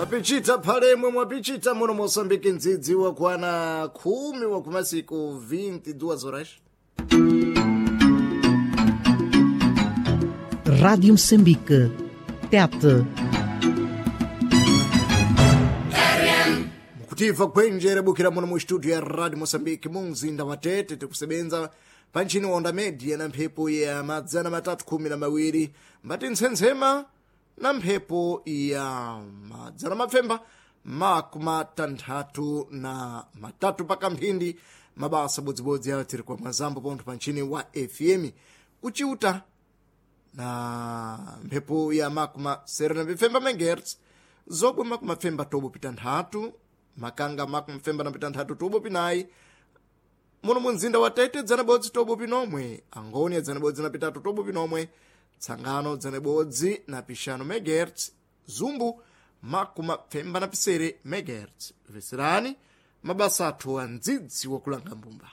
Mwapichita phalemwe mwapichita muno Moçambique ndzidzi wakwana 10 wa kumasiku 22 horas. Rádio Moçambique. Tete. Mukutiva kwenjere bukira muno mu studio ya Radio Moçambique mu mzinda wa Tete tikusebenza panchini wa onda media na mphepo ya 312 mbati ntsensema na mphepo ya 663 paka mphindi mabasa bodzibodzi ayo tiri kwa mwazambo pontho panchini wa FM kuchiuta na mphepo ya makuma sere na pifemba megahertz zobwe makuma pfemba tobo pita nthatu makanga makuma pfemba na pita nthatu tobo pinayi muno munzinda wa Tete dzana bodzi tobo pinomwe Angônia dzana bodzi na pitatu tobo pinomwe Tsangano dzana bodzi na pixanu megahertz Zumbu makuma pfemba na pisere megahertz veserani mabasa athu a ndzidzi wakulanga mbumba.